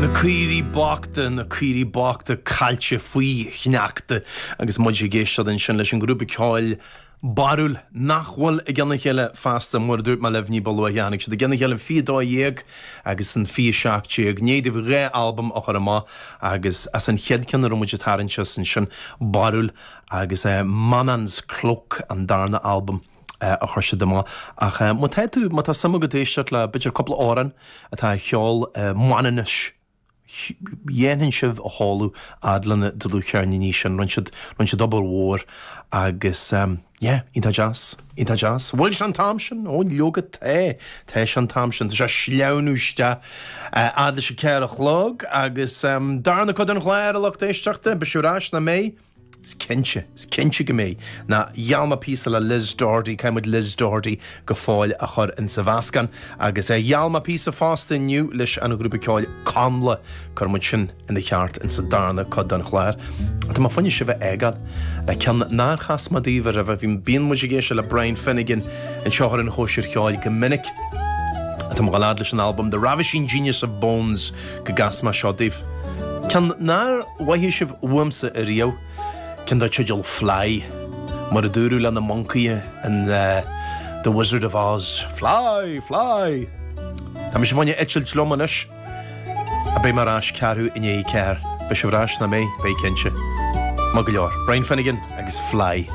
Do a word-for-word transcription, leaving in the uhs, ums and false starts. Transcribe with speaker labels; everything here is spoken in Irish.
Speaker 1: Na caoirigh bochta, na caoirigh bochta caillte faoi shneachta agus muid ag éisteacht ansin leis an ghrúpa ceoil Barúil nach bhfuil i gcionn a chéile feasta mar a dúirt mé libh ní ba luaithe tháinig siad i gcionn a chéile fiche dó dhéag agus an fiche seacht déag i ndiaidh dóibh dhá albam a chur amach agus as an chéad ceann a raibh muid ag tarraingt as ansin Barúil agus eh, Manann's Cloak an darna albam eh, a chuir siad amach ach eh, má tá tú má tá suim agat éisteacht le b'fhéidir cúpla amhrán atá a cheol Manainnis dhéanfainn sibh a shamhlú fhad lena dlúthcheirníní sin rinne siad rinne siad obair mhór agus um, yeah, iontach deas iontach deas. Bhfuil sé an t-am sin ó leoga tá tá sé an t-am sin tá sé sleamhnú isteach fhad leis an ceathair a chlog agus um, darna cuid den chlár a lucht éisteachta beidh sibh ar ais nach mbeidh. Is cinnte, is cinnte go mbeidh ná gheall mé píosa le Liz Doherty caithfidh muid Liz Doherty go fóill a chur in sa mheascán agus é gheall mé píosa fosta inniu leis an ghrúpa ceoil Connla cuirfidh muid sin ina cheart in sa darna cuid den chlár. Tá mé fá choinne sibh a fhágáil le ceann nár chas mé daoibh roimhe bhí bíonn muid ag éisteacht le Brian Finnegan anseo ar an Chóisir Cheoil go minic. Tá mé leis an album The Ravishing Genius of Bones go gcasfaidh mé seo daoibh. Ceann nár mhothaigh sibh uaimsa ariamh ceann dar teideal Fly, mar a dúradh le na moncaithe in uh, The Wizard of Oz. Fly, fly! Tá mé fá choinne eitilt liom anois a beidh mé ar ais ceathrú i ndiaidh a ceathair, Beidh sibh ar ais nach mbeidh beidh cinnte. Maith go leor. Brian Finnegan agus Fly.